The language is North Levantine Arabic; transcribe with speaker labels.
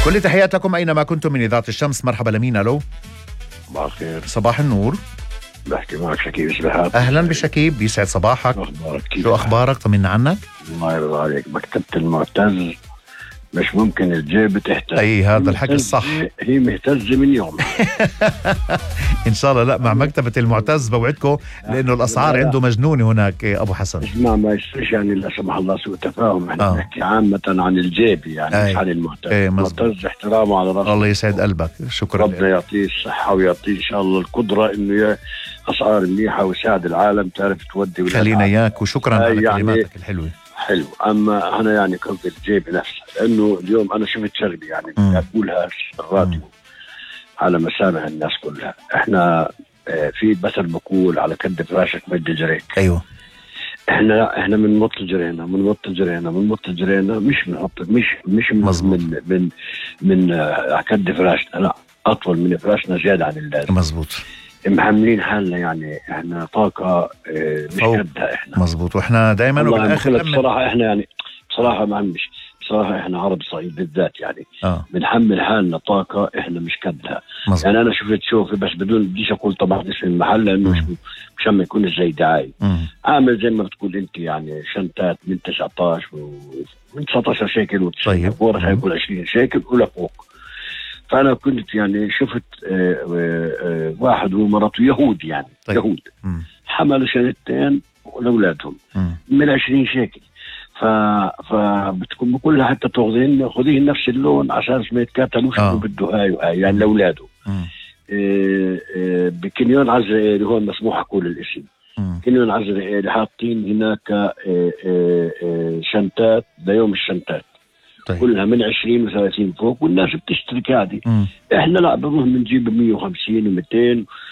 Speaker 1: كل تحيات لكم أينما كنتم من إذاعة الشمس. مرحبا لمين؟ ألو.
Speaker 2: صباح الخير.
Speaker 1: صباح النور.
Speaker 2: بحكي معك شكيب سبحات.
Speaker 1: أهلا بشكيب، بيسعد صباحك. شو أخبارك؟ طمنا عنك.
Speaker 2: الله يرضى عليك. مكتبة المعتز مش ممكن الجيب تحتاج.
Speaker 1: أي هذا الحكي الصح.
Speaker 2: هي مهتزة من يوم.
Speaker 1: إن شاء الله. لا مع مكتبة المعتز بوعدكم لأنه الأسعار عنده مجنونة هناك أبو حسن.
Speaker 2: اسمع ما يصيرش يعني لا سمح الله سوء تفاهم. احنا نحكي عامة عن الجيب يعني مش عن المعتز. المعتز احترامه على راسه.
Speaker 1: الله يسعد قلبك. شكرا.
Speaker 2: ربنا يعطيه الصحة ويعطيه إن شاء الله القدرة إنه أسعار منيحة ويساعد العالم تعرف تودي.
Speaker 1: خلينا إياك وشكرا على
Speaker 2: يعني
Speaker 1: كلماتك الحلوة.
Speaker 2: حلو. أما أنا يعني قصدي الجيب نفسه، لأنه اليوم أنا شفت شغلة يعني أقولها الراديو على مسامع الناس كلها. إحنا في مثل بقول على كد فراشك مد جريك.
Speaker 1: أيوه.
Speaker 2: إحنا من متجرينا مش بنحط مش من كد فراشنا، لا أطول من فراشنا زيادة عن اللازم.
Speaker 1: مزبوط.
Speaker 2: محملين حالنا يعني احنا طاقة مش قدها احنا.
Speaker 1: مزبوط. واحنا دايما وبالاخر
Speaker 2: بصراحة احنا يعني بصراحة ما عمش بصراحة احنا عرب صعيد بالذات يعني بنحمل حالنا طاقة احنا مش قدها. يعني انا شوفي بس بديش اقول طبعا اسم المحل لانه مش ما يكون زي دعاية. عامل زي ما بتقول انت يعني شنطات من 19 من 19 شيكل
Speaker 1: طيب.
Speaker 2: ورخ يكون 20 شيكل ولا فوق. فأنا كنت يعني شفت واحد ومرته يهود يعني. طيب. يهود حملوا شنطتين لأولادهم من 20 شيكل. فبتكون بقول لها حتى خذيهن نفس اللون عشان ما يتكاتلوش بده هاي يعني لأولاده. بكنيون عزرائيلي هون مسموح أقول الاسم. كنيون عزرائيلي حاطين هناك شنطات ليوم الشنطات. طيب. كلها من 20 و30 فوق والناس بتشترك عادي. احنا لا بنروح بنجيب 150 و200